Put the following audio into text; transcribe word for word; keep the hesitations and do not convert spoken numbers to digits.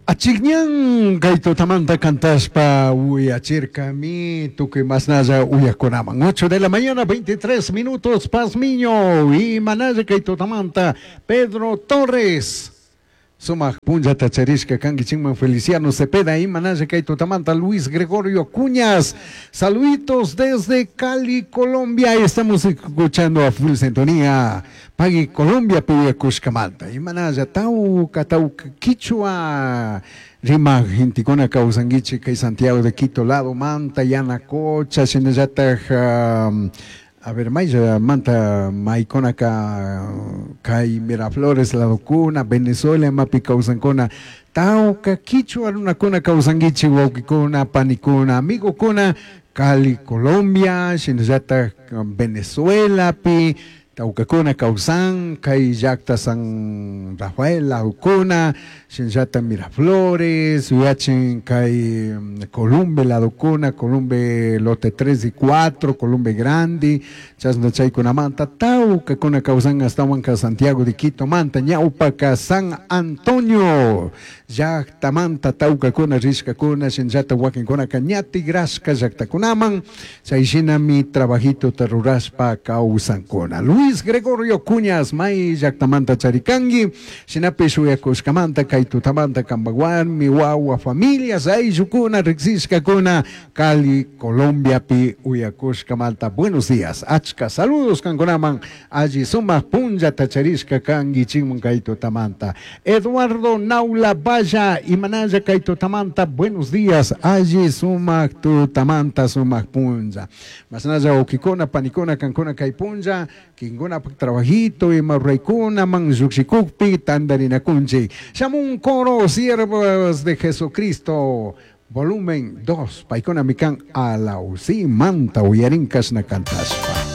Achikñan kay tutamanta kantashpa uyachirkami tukuy masnalla uyakunaman. ocho de la mañana, veintitrés minutos, Pazmiño y manalla kay tutamanta Pedro Torres. Sumaq punllata charishka kankichikman Feliciano Cepeda y manalla kay tutamanta Luis Gregorio Cuñas. Saluditos desde Cali, Colombia. Estamos escuchando a full sintonía. Pagui Colombia piyakushkamanta. Y manalla tauka tauka quichua rima gentikuna kawsankichik kay Santiago de Quito lado manta Yanacocha shinallataj um, a ver, maylla manta maykunaka kay Miraflores ladokuna Venezuela mapi kawsankuna tawka quichua runakuna kawsankichik wawqikuna panikuna amigokuna Cali Colombia shinallataj Venezuelapi tawkakuna kawsan kay llaqta San Rafael ladokuna shinallata Miraflores uyachin kay Columbe ladokuna Columbe lote tres y cuatro Columbe Grande chasna chaykunamanta tawkakuna kawsan ashtawanka Santiago de Quito manta ñawpaka San Antonio llaqtamanta tawkakuna rishkakuna shinallata wakinkunaka ña tigrashka llaqtakunaman chayshinami trabajituta rurashpa kawsankuna. Luis Gregorio Cuñas may llaqtamanta charikanki shinapish uyakushkamanta kay tutamanta kampak warmi wawa familias ayllukuna riksishkakuna Cali Colombiapi uyakushkamanta. Buenos días, achka saludos kankunaman alli sumaq punllata charishka kankichikman kay tutamanta. Eduardo Naula Valla imanalla kay tutamanta buenos días, alli sumaq tutamanta sumaq punlla. Masnalla wawkikuna panikuna kankuna kay punlla kinkunapak trabajito ima ruraykunaman lluqshikukpi tantarinakunchik. Shamun coro siervos de Jesucristo volumen dos, paykuna mikan alausi manta uyarin kashna kantashpa.